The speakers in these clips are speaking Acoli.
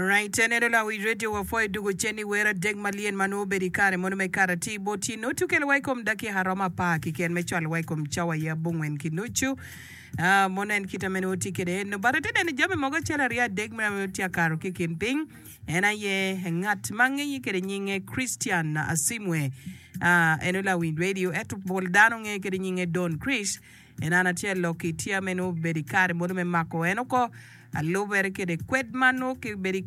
Right, en eno lawic radio wapwoyo dugo cen i wer adek malyen ma nongo obedo i kare mono me kato atir bot tye nongo tukelo wa i kom dakika romo apar kiken me cwalo wa i kom cawa aye abongwen ki nucu. Ah, mono en kite me nongo tye kwede eno. But atye neno jami mogo acel aryo adek ma nongo tye akato ki i kin piny. En aye ngat ma ngeye kwede nyinge Christian Asimwe. Ah, eno lawiny radio ento pol dano ngeye kwede nyinge Don Chris. En an acel lok i tye me nongo obedo i kare mono me mako en oko alubere kede kwed ma nongo ki bedo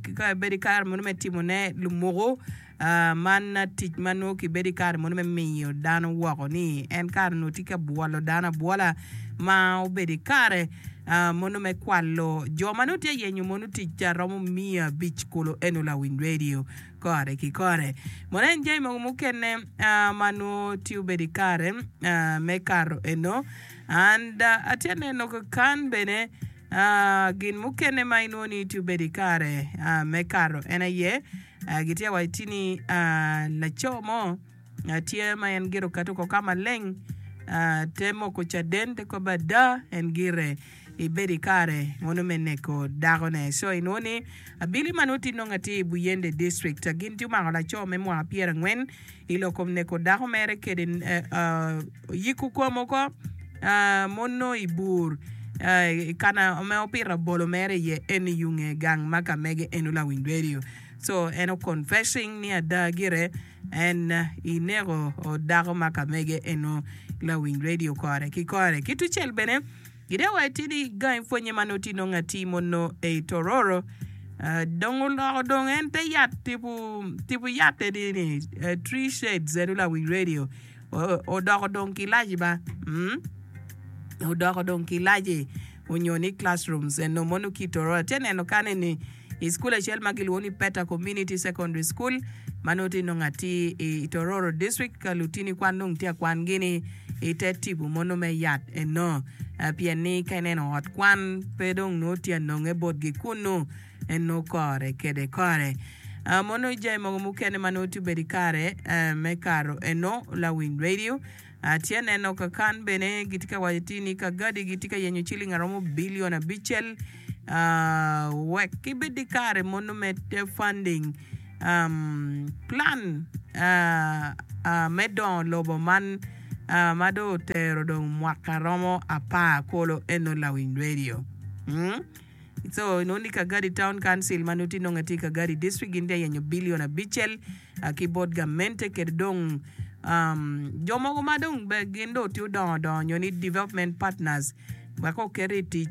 i kare mono me timo ne lumuku man tic ma nongo ki bedo i kare mono me miyo dano woko ni en kare nongo tye ka bwolo dano abwola ma obedo i kare mono me kwalo jo ma nongo tye yenyo mono tic romo miya abic kulu eno lawiny radio kore ki kore. Mono en jami mogo mukene ma nongo tye obedo i kare me kato eno. And atye neno kakan bene gin mukene ma inwongo ni tye obedo i kare me kato en aye gitye waco ti ni laco mo tye ma en gire oketo oko ka maleng te moko caden te kobbe ada en gire ibedo i kare mono me neko dakone. Co inwongo ni abili ma nongo tye nongo atir i Buyende District gin tye omako laco me mwaka pyerangwen i lok kom neko dako mere kede yiko kom oko mono i bur i kana ma opito abolo mere iye en i yunge gang ma ka mege eno lawiny radio. Co en o confessing ni ada gire En ineko dako ma ka mege eno lawiny radio kore ki kore. Ki tucel bene, gide wa itidi gangi pwonye ma nongo tye nongo atir mono ei Tororo. Dong oloko dong en te yat tipo tipo yat eni ni tree shades eno lawiny radio odoko dong kilaci ba odoko dong kilaci onyo ni classrooms eno mono ki Tororo. Atye neno kan eni I cukul acel ma kilwongo ni Peta Community Secondary School ma nongo tye nongo atir i Tororo District ka lutini kwan dong tye ka kwangi ni i te tipo mono me yat eno pien ni ka ineno ot kwan pe dong nongo tye anonge botgi kunu en nongo kore kede kore. Mono jami mogo mukene ma nongo tye obedo i kare me kato eno lawiny radio. Atye neno ka kan bene gitye ka waco ti ni Kagadi gitye ka yenyo ciling aromo bilion abicel wek gibed ki kare mono me funding plan me dongo lobo man ma dong otero dong mwaka romo apar kulu eno lawiny radio. Co inongo ni Kagadi Town Council ma nongo tye nonge tye i Kagadi District gin tye ka yenyo bilion abicel ki bot gamente kede dong jo mogo ma dong gin dong tye odongo dongo nyo ni development partners wek oket i tic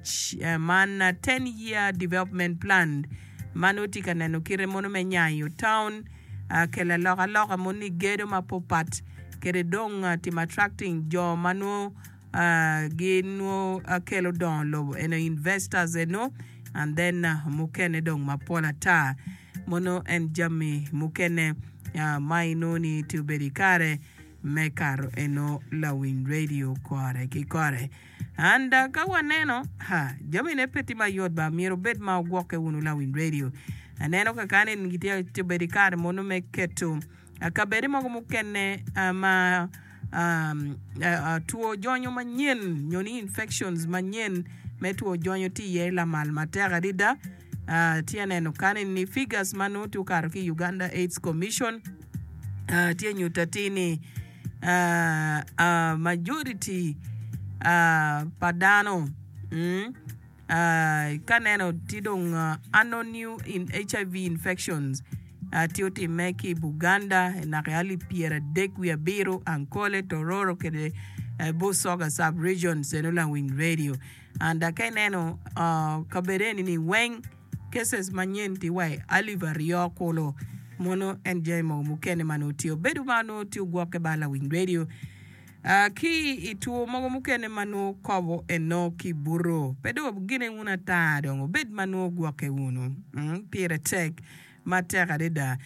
man 10 year development plan ma nongo tye ka neno kite mono me nyayo town kelo alokaloka mono ni gedo mapapat kede dong timo attracting jo ma nongo Gin nwo kelo dongo lobo eno investors eno and then mukene dong mapol ata mono en jami mukene ma inongo ni tye obedo ikare me kato eno lawiny radio kore ki kore and ka waneno ha jami ne pe tye mayot ba myero obed ma wugwokke wunu lawiny radio aneno kakane gitye obedo ikare mono me keto Kabedde mogo mukene ma two jonyo manyen nyo ni infections manyen me two jonyo tye iye lamal matek adada. Atye ka neno kany ni figures ma nongo tye okato ki i Uganda AIDS Commission tye nyuto atir ni majority pa dano Ka neno tye dong ano new in HIV infections tye otimme ki i Buganda naka i alip pyeradek wiye abiro, Ankole, Tororo kede Busoga sub regions eno lawiny radio and ka ineno kabedo eni ni weng cases manyen tye wa i alip aryo kulu mono en jami mogo mukene ma nongo tye obedo ma nongo tye ogwokke ba lawiny radio. Ki i two mogo mukene ma nongo kobo eno ki buto, pe dong wugine wunu ata dong wubed ma nongo wugwokke wunu. Pire tek matek adada.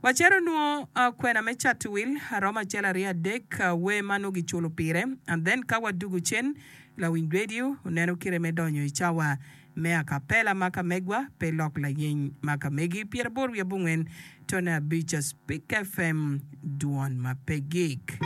Wacito nwo kwena me cato wil aromo acel aryo adek wer ma nongo giculo pire and then ka wadugo cen lawiny radio oneno kite me donyo i cawa Me akapela ma ka megwa, pe lok layeny ma ka megi. Pyeraboro wiye abongwen, tone abic, Spik FM, dwon ma pe gik.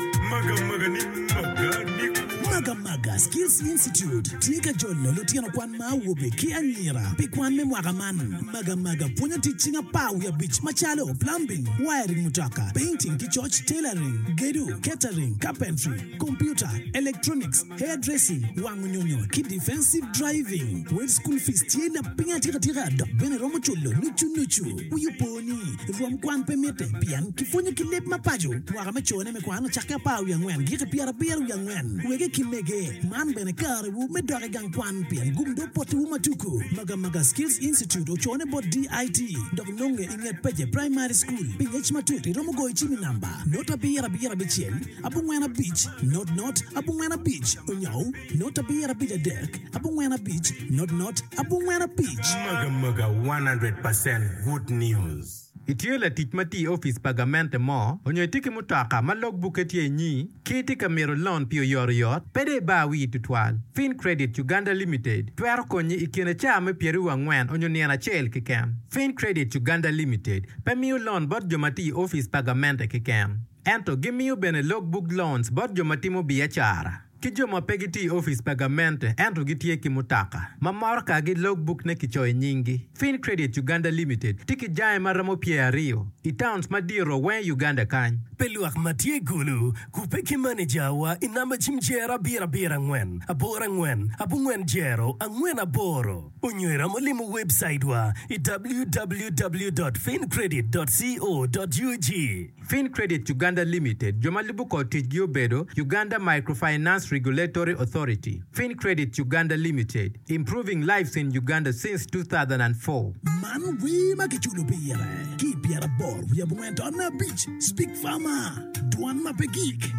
Magamaga Skills Institute tye ka jolo lutino kwan ma awobe ki anyira pi kwan me mwaka man. Magamaga pwonyo tic cing apar wiye abic macalo, plumbing, wiring mutoka, painting ki coc, tailoring, gedo, catering, carpentry, computer, electronics, hair dressing, wango nyonyo ki defensive driving. Wel school fees tye lapiny atika tika dok bene romo culo nucu nucu. Wi opo ni, rwom kwan pe mitte pien kipwonyo ki leb ma paco. Mwaka me cone me kwan ocakke apar wiye angwen giki pyerabiro wiye angwen. Wege ki mege, man bene karewu me dok i gang kwan pien gum dong potiwu ma tuku. Magamaga Skills Institute ocone bot DIT dok nonge i nget Pece Primary School. Pi ngec matut iromo goyo cim i namba not abiro abiro abicel abongwen abic not not abongwen abic onyo not abiro abic adek abongwen abic not not abongwen abic. Magamaga 100% good news. Itye latic ma tye i opic pa gamente mo, onyo itye ki mutoka ma log bukke tye inyi, ki itye ka mito lon pi oyotoyot, pe dong ibar wii tutwal. Fincredit Uganda Limited twero konyi i kine caa me pyeraryo angwen onyo nino acel keken. Fincredit Uganda Limited pe miyo lon bot jo ma tye i opic pa gamente keken, ento gimiyo bene log book loans bot jo ma timo biacara. Ki jo ma pe gitye i opic pa gamente ento gitye ki mutoka ma morokagi logbuk ne kicoyo nyinggi. Fincredit Uganda Limited tye ki jange ma romo pyeraryo i towns madito weng i Uganda kany. Pi lwak ma tye i Gulu, kubbe ki manejawa i namba cim jero abiro abiro angwen aboro angwen abongwen jero angwen aboro onyo iromo limo webcaitwa i www dot fincredit dot co dot ug. Fincredit Uganda Limited, jo ma lubo kor ticgi obedo, Uganda Microfinance Regulatory Authority, Fincredit Uganda Limited, improving lives in Uganda since 2004. Man wer ma kiculo pire ki i pyeraboro wiye abongwen taun abic, Speak Farmer, Dwan ma pe gik.